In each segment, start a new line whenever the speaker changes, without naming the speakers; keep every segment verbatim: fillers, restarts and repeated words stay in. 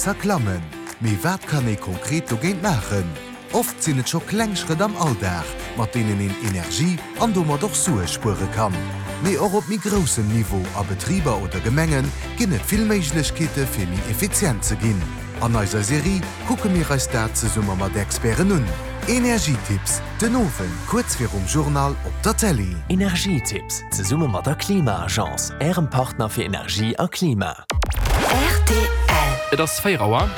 Energiepräisser klammen. Mee wat kann ee konkret dogéint maachen? Oft sinn et scho kleng Schrëtt am Alldag, mat deenen een Energie an domat och Sue spuere kann. Mee och op méi groussem Niveau, a Betriber oder Gemenge ginn et vill Méiglechkeete fir méi effizient ze ginn. An eiser Serie kucke mir eis dat zesumme mat Experten un. Energietipps, den Owend kuerz virum Journal op der Télé.
Energietipps, zesumme mat der Klima-Agence, Ärem Partner fir Energie a Klima.
R T L. Et ass véier Auer.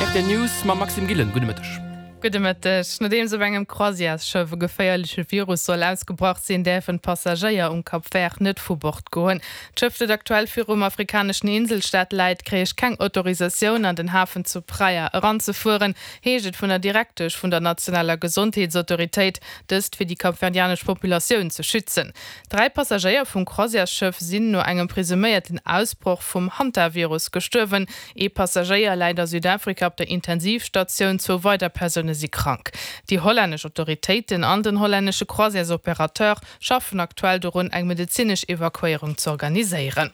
R T L News mam Maxime Gillen. Gudde Mëtteg.
Gudde Mëtteg. Nodeems op engem Croisièresschëff e geféierleche Virus soll ausgebrach sinn, däerfen d'Passagéier um Cap Vert net vu Bord goen. D'Schëff, dat aktuell virum afrikaneschen Inselstaat läit, kréich keng Autorisatioun an den Hafen zu Praia eranzefueren, heescht et vun der Direktesch vun der nationaler Gesondheetsautoritéit, dëst fir déi kapverdianesch Populatioun ze schützen. Dräi Passagéier vum Croisièresschëff sinn no engem presuméierten Ausbroch vum Hantavirus gestuerwen. Ee Passagéier läit a Südafrika op der Intensivstatioun, zwou weider Persoune si krank. Déi hollännesch Autoritéiten an den hollännesche Croisièresopérateur schaffen aktuell dorun, eng medezinesch Evakuéierung z'organiséieren.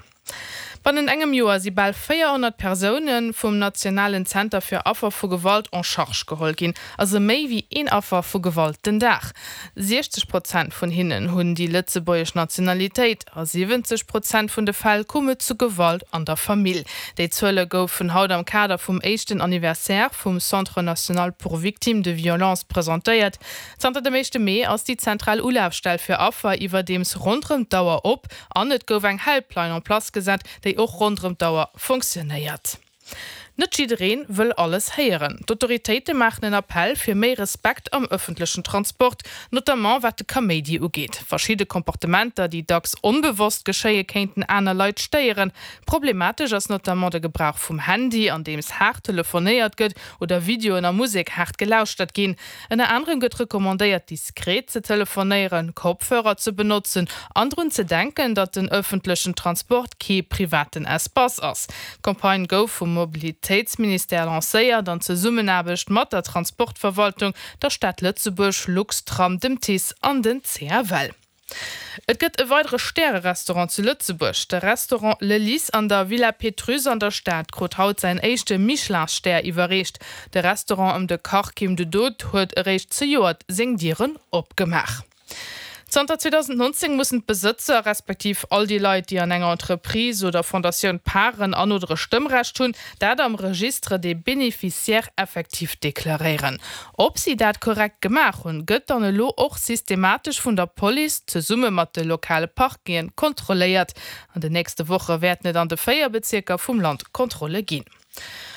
Bannent engem Joer si bal véierhonnert Persoune vum nationalen Zenter fir Affer vu Gewalt en charge geholl ginn, also méi wéi een Affer vu Gewalt den Dag. siechzeg Prozent vun hinnen hunn déi lëtzebuergesch Nationalitéit. A siwwenzeg Prozent vun de Fäll koum et zu Gewalt an der Famill. Déi Zuele goufen haut am Kader vum éischten Anniversaire vum Centre national pour victimes de violences presentéiert. Zanter dem éischte Mee ass déi zentral Ulafstell fir Affer iwwerdeems ronderëm d'Auer op an et gouf eng Helpline en place gesat, déi och ronderëm d'Auer fonctionnéiert. Net jiddereen wëll alles héieren. D'Autoritéite maachen en Appell fir méi Respekt am ëffentlechen Transport, notamment wat de Kaméidi ugeet. Verschidde Komportementer, déi dacks onbewosst geschéie kéinten aner Leit stéieren. Problematesch ass notamment de Gebrauch vum Handy, andeems haart telefonéiert gëtt oder Videoen a Musek haart gelauschtert ginn. Ënner anerem gëtt recommandéiert, diskret ze telefonéieren, Kopfhörer ze benotzen an drun ze denken, datt den ëffentlechen Transport kee privaten Espace ass. D'Campagne gouf vum Mobilitéitsministère lancéiert an Zesummenaarbecht mat der Transportverwaltung, der Stad Lëtzebuerg, Luxtram, dem TICE an den C F L. Et gëtt e weidere Stärerestaurant zu Lëtzebuerg. De Restaurant Le Lys an der Villa Pétrusse an der Stad krut haut säin éischte Michelin-Stär iwwerreecht. De Restaurant ëm de Kach Kim de Dood huet eréischt zejoert seng Dieren opgemaach. Zanter zweedausendnonzéng mussen d'Besëtzer, respektiv all déi Leit, déi an enger Entreprise oder Fondatioun Paren an oder e Stëmmrecht hunn, dat am Registre des bénéficiaires effectifs deklaréieren. Ob si dat korrekt gemaach hunn, gëtt dann elo och systematesch vun der Police zesumme mat de lokale Parqueten kontrolléiert. An den nächste Woche wäerten et an de véier Bezierker vum Land Kontrolle ginn.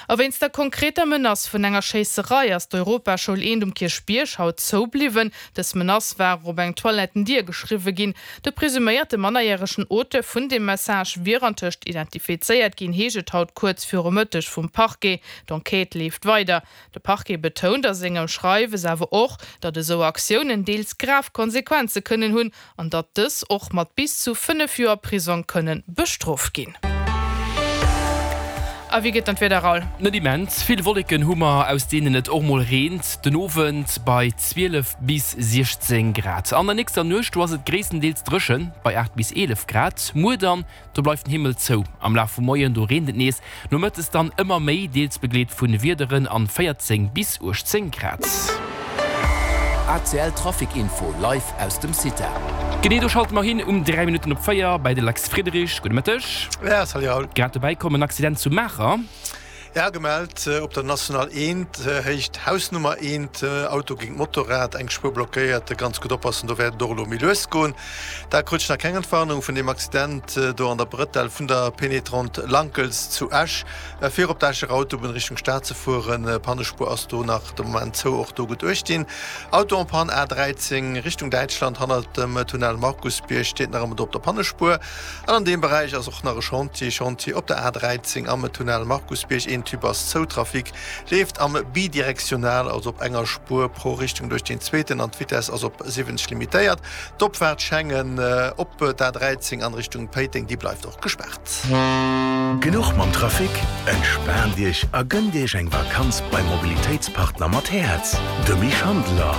A wéinst der konkreter Menace vun enger Schéisserei ass d'Europaschoul eent um Kierchbierg haut zoubliwwen. Dës Menace war op eng Toilettendier geschriwwe ginn. De presuméierte mannerjäregen Auteur vun deem Message wier antëscht identifizéiert ginn, heescht et haut kuerz viru Mëtteg vum Parquet. D'Enquête leeft weider. De Parquet betount a sengem Schreiwes awer och, datt esou Aktiounen deels grav Konsequenze kënnen hunn an datt dës och mat bis zu fënnef Joer Prisong kënne bestrooft ginn. A wéi geet dann d'Wieder, Raoul?
Net immens vill Wolleken hu mer, aus deenen et och mol reent, den Owend bei zwielef bis siechzéng Grad. An der nächster Nuecht, do ass et gréisstendeels dréchen, bei aacht bis eelef Grad. Muer dann, do bleift den Himmel zou, am Laf vum Moien, do reent et nees, nomëttes dann ëmmer méi, deels begleet vu Wiederen an véierzéng bis uechtzéng Grad.
A C L Trafic Info live aus dem CITA.
Genee, do schalte mer hin um dräi Minutten op véier bei de Lex Friedrich. Gudde Mëtteg.
Ja, salut Raoul.
Grad dobäi komm, en Accident zu Maacher.
Ja, gemellt op der National eent, Héicht Hausnummer eent, Auto géint Motorrad, eng Spuer blockéiert, ganz gutt oppassen, do wäert et och elo méi lues goen. Da krut ech nach keng Entwarnung vun deem Accident do an der Brëtell vun der Pénétrante Lankels zu Esch, fir op d'Escher Autobunn Richtung Stad ze fueren. Pannespuer ass do nach de Moment zou, och do gutt uecht dinn. Auto en panne A dräizéng Richtung Däitschland hannert dem Tunnel Markusbierg steet nach ëmmer do op der Pannespuer. An an deem Beräich ass och nach e Chantier, Chantier op der A dräizéng am Tunnel Markusbierg, een Tube ass zou, Trafic leeft am bidirektional, also op enger Spuer pro Richtung duerch deen zweeten an d'Vitess ass op siwwenzeg limitéiert. D'Opfaart Schengen op d'A dräizéng an Richtung Péiteng, déi bleift och gespaart.
Genuch mam Trafic? Entspaant Iech a gënnt Iech eng Vakanz beim Mobilitéitspartner mat Häerz, de Misch Handeler.